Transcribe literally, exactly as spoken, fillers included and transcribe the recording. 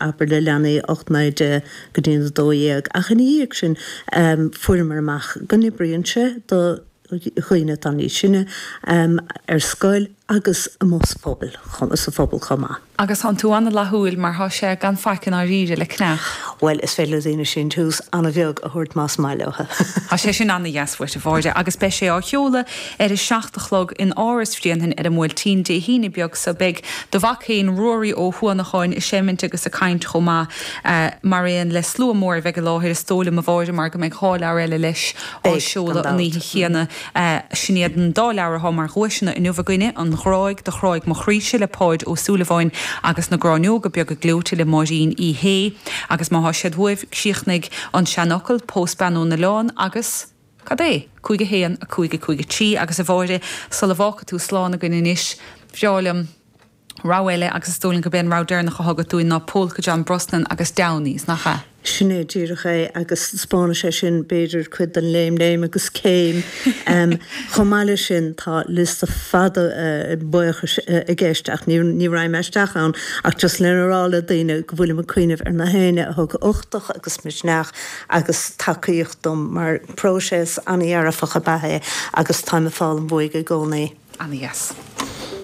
abair le leanaí ocht naoi deich go dtí a dó dhéag ach ina dhiaidh sin fuaireamar amach go n-oibríonn sé do dhaoine atá níos sine ar scoil agus amuigh sa phobal, sa phobal chomh maith. Agus tánn tú an-fhlaithiúil mar thá sé gan faic i ndáiríre le ceannach. Bhuel, is féidir le daoine síntiús an-bheag a thabhairt más maith leo. Tá sé sin an-dheas uait, a Mháire, agus beidh sé á sheoladh ar a seacht a chlog in Áras Bhréanainn ar an mBuailtín Dé hAoine beag so. Beidh do mhac féin, Ruairí Ó hUanacháin, ag seimint agus ag caint chomh maith, mar aon le slua mór a bheidh i láthair, is dóigh liom, a Mháire, mar go mbeidh dhá leabhar eile leis á seoladh an oíche chéanna. Sin iad an dá leabhar atá mar dhuaiseanna inniu againne, An Ghráig do Chráigh Mo Chroíse le Páid Ó Súilleabháin agus Na Gráinneoga Beaga Gleoite le Máirín Uí Shé. Agus má thá siad uaibh, críochnaigh an seanfhocal, Pós bean ón oileán agus, cad é? cúig a haon, a cúig, a cúig a trí. Agus a Mháire, sula bhfágfaidh tú slán againn anois, bhreá liom rogha eile agus is dóigh liom gurb é an rogha deireanach atá agat dúinn ná Polka John Brosnan agus Downies, nach ea? Sin é díreach é agus 'spáinfidh sé sin b'fhéidir cuid den léim léim agus céim. Chomh maith leis sin tá liosta fada buíochais i gceist ach ní ní raghaidh mé isteach ann ach just lena rá le daoine go bhfuilim ag cuimhneamh ar na héinne a thug uchtach agus misneach agus tacaíocht dom mar próiseas an-dhearfach ab ea é agus táim ag foghlaim uaidh i gcónaí. Ana-dheas.